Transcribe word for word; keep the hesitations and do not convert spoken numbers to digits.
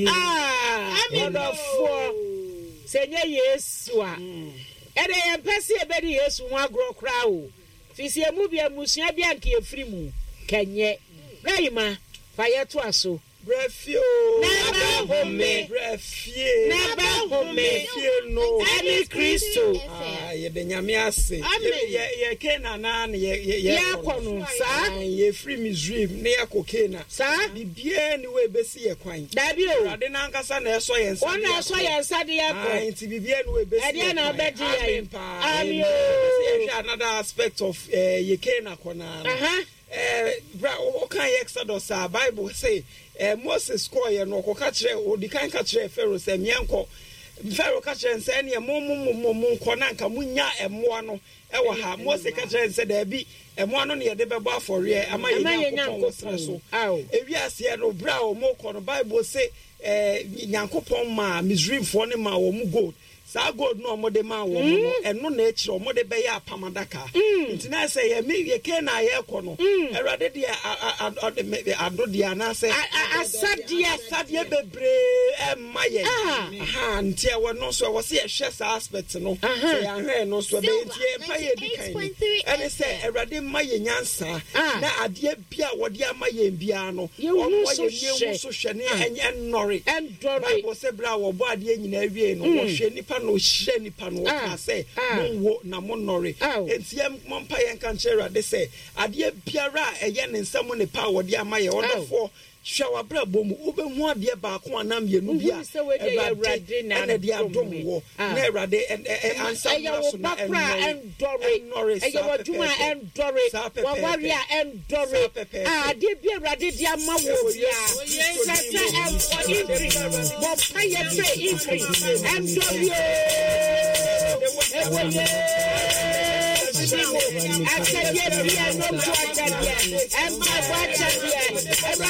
Ah, ɔdɔfoɔ, sɛ nyɛ Yesu a, ɛdeɛ yɛmpɛ sɛ yɛbɛdi Yesu ho agorɔ koraa o. Firi sɛ yɛn mu bi, mmusua bi a anka yɛfiri mu, kɛnyɛ. Bra Yima, fa yɛtoa so. Brɛ fie o. Na bɛ home. Brɛ fie. Na bɛ home. Fie no. Ɛne Kristo. Ah, yɛde Nyame ase. Amen. Yɛ yɛ Canaan na na yɛ yɛ Yɛakɔ no, saa. Ah, yɛfiri Misraim na yɛkɔ Canaan. Saa. Biribiara ni wɔ ebesi yɛ kwan. Dabi o. Awurade n'ankasa na ɛsɔ yɛn nsa. Wɔn na ɛsɔ yɛn nsa de yɛkɔ. Ah, nti biribiara ni wɔ ebesi yɛ kwan. Ɛdeɛ na ɔbɛgye yɛn. Amen paa. Amen o. Sɛ yɛhwɛ another aspect of eh, yɛ Canaan kɔ naa no. Aha. Eh, bra ɔka yɛ Exodus a, Bible say eh, Moses kɔɔyɛ no, ɔkɔka kyerɛ, ɔdi kan ka kyerɛ Pharaoh sɛ miɛnkɔ. Pharaoh ka kyerɛ no sɛ ɛneɛ mo mo mo mo mo nkɔ na nka monya ɛmmoa no ɛwɔ ha. Mose ka kyerɛ no sɛ daabi, ɛmmoa no ne yɛde bɛbɔ afɔreɛ ama yɛ Ama yɛ Nyankopɔn wɔ serɛ so. Aw. Ewiaseɛ no, berɛ a wɔn kɔ no, Bible say eh, Nyankopɔn maa Misraimfoɔ no maa wɔn gold. Saa gold no a wɔde maa wɔn no, ɛno na akyerɛ wɔde bɛyɛ apam adaka. Nti na sɛ yɛ mi yɛ Canaan a yɛrekɔ no, Awurade deɛ a- a- a- ɔde me- ado deɛ anaasɛ A- a- asadeɛ. Asadeɛ bebree ɛmma yɛn. Ah. Aha, nti ɛwɔ no nso ɛwɔ sɛ yɛhwɛ saa aspect no. Aha. Sɛ yɛahwɛ no nso ɛbɛyɛ, nti yɛn mpa yɛ di kan ni ɛne sɛ Awurade mma yɛ nyansa Ah. na adeɛ bi a wɔde ama yɛn biara no, Yɛnhu ɔmmoa so yɛn yɛnhu hwɛ. so hwɛ ne ɛnyɛ nnɔre. Ɛndɔre. Bible sɛ berɛ a wɔbɔ adeɛ nyinaa wie no, wɔhwɛ nipa na ɔhyira nipa no, wɔkaa Ah. sɛ Ah. monwo na monnɔre. Aw. Enti yɛmmɔ mpa yɛnka nkyerɛ Awurade sɛ adeɛ biara a ɛyɛ ne nsɛm ne pa a wɔde ama yɛ, ɔdɔfoɔ, hwɛ w'abrabɔ mu, wobɛhu adeɛ baako anaa mmienu bi a Wohu sɛ wei deɛ yɛ Awurade na ɛna de adom adom me. wɔ Ah. na Awurade ɛ- ɛ- ɛ- ansa Ɛyɛ mmra wo so ba na koraa ɛnnɔre. ɛndɔre. Ɛnnɔre, Ɛyɛ saa w'adwuma a pɛpɛɛpɛ. ɛndɔre. Saa pɛpɛɛpɛ. W'aware a ɛndɔre. Saa pɛpɛɛpɛ. Ah, adeɛ bi Awurade de ama wo Ɛwɔ biara. Yesu Kristo Sɛ din sɛ mu. ɛwɔ increase. Bɔ mpaeɛ sɛ increase. Ɛndɔre o. Ɛwɔ Yesu din mu. Akyɛdeɛ bi a ɛnɔmpo akyɛdeɛ. Ɛmpaebɔ akyɛdeɛ. Awurade